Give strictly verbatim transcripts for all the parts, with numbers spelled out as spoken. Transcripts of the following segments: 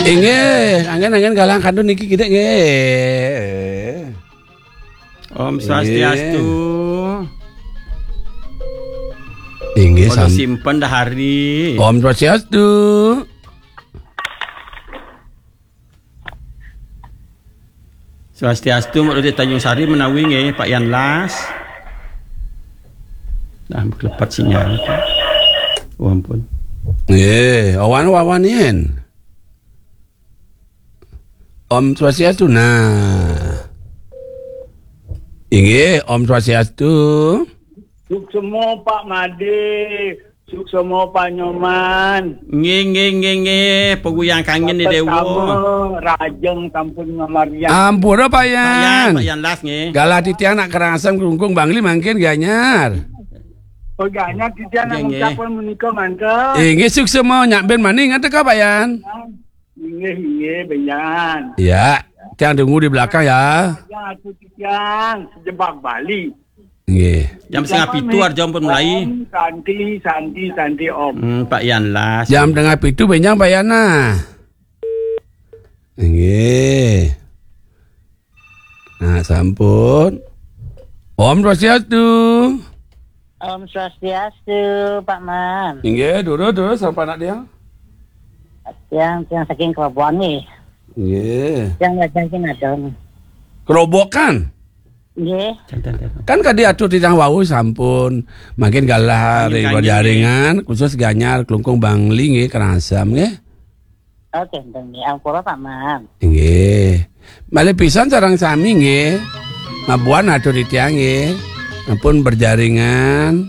Inggih, anggen-anggen galah kantun niki kidik nggih. Om Swastiastu. Inggih, Kalau sam- simpen dah hari. Om Swastiastu. Swastiastu, Mak Dodi Tanjung Sari menawi nggih, Pak Yan Las. Dah kelepat sinyal. Oh, ampun. Nggih, awan-awan yen. Om Swastiastu. Nah. Inggih, Om Swastiastu. Suksma Pak Made, suksma Pak Nyoman. Nggih, nggih, nggih, nggih. Paguyang kangen di Dewa. Pertama, rajeng sampun ngamargiang. Ampura, Pak Yan. Pak Yan, Pak Yan Las nggih. Galah titiang nak Karangasem Klungkung Bangli mangkin Gianyar. Oh, Gianyar titiang nak ngucapkan menika mangke. Inggih, suksma nyak ben mani ngateka, Pak Yan. Inggih, inggih, benjan. Ya, tiang tunggu di belakang ya. Ya, aku tiang sejebak Bali. Nggih. Jam setengah pitu arep pun mulai. Om Santi, Santi, Santi, Om. Hmm, Pak Yan Las. Jam setengah pitu benjang Pak Yan nah. Nggih. Nah, sampun. Om Swastiastu. Om Swastiastu, Pak Man. Inggih, durus, durus, sapa anak tiang? Tiang, tiang saking Kerobokan nih. Nggih. Tiang lajeng ki nadong. Kerobokan? Nggih. Kan kadi atur titiang wau sampun mangkin galah ring jaringan khusus Gianyar Klungkung Bangli nggih Karangasem nggih. Oke, enten nggih. Ampura, Pak Man. Nggih. Malih pisan sareng sami nggih. Mabuan atur titiang nggih. Ampun berjaringan.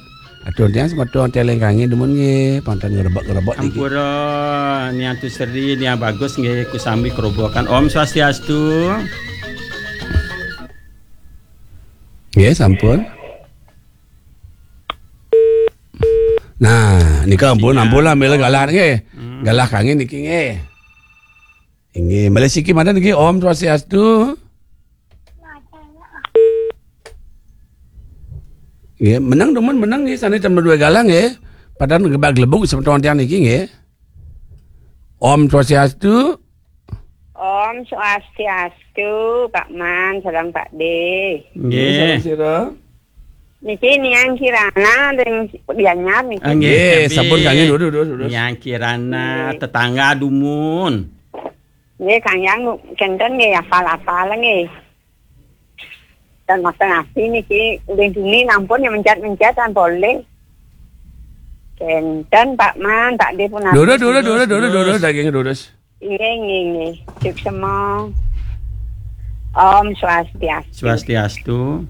Atur titiang semeton teleng kangen dumun nggih. Pantan ngerebek-ngerebek niki. Ampura, Niang Tuseri, Niang Bagus nggih, ku sami Kerobokan. Om Swastiastu. Nggih, sampun. Nah, nika ampun, ampun lah, mila galah nggih. Hmm. Galah kangen niki nggih. Inggih, malih siki manten niki, Om Swastiastu. Nggih, menang dumun menang nggih, sane tambah dua galah nggih. Padahal ngebak gelebuk semeton tiang niki nggih. Om Swastiastu. Om Swastiastu, Pak Man, sareng Pak De. Nggih. Nggih, sareng sira. Niki Niang Kirana ring Gianyar niki. Ah, nggih, nggih, sampun, sampun. Kangen, durus, durus, durus. Niang Kirana, nggih. Tetangga dumun. Nggih, Kang Yang, kenten nggih, hafal-hafal nggih. Dan Mas Nasi niki, uling dini nampun ya mencet-mencet kan boleh. Kenten, Pak Man, Pak De pun durus, durus, durus, durus, durus, durus, daging durus. Nggih, nggih, nggih. Suksema. Om Swastiastu. Swastiastu.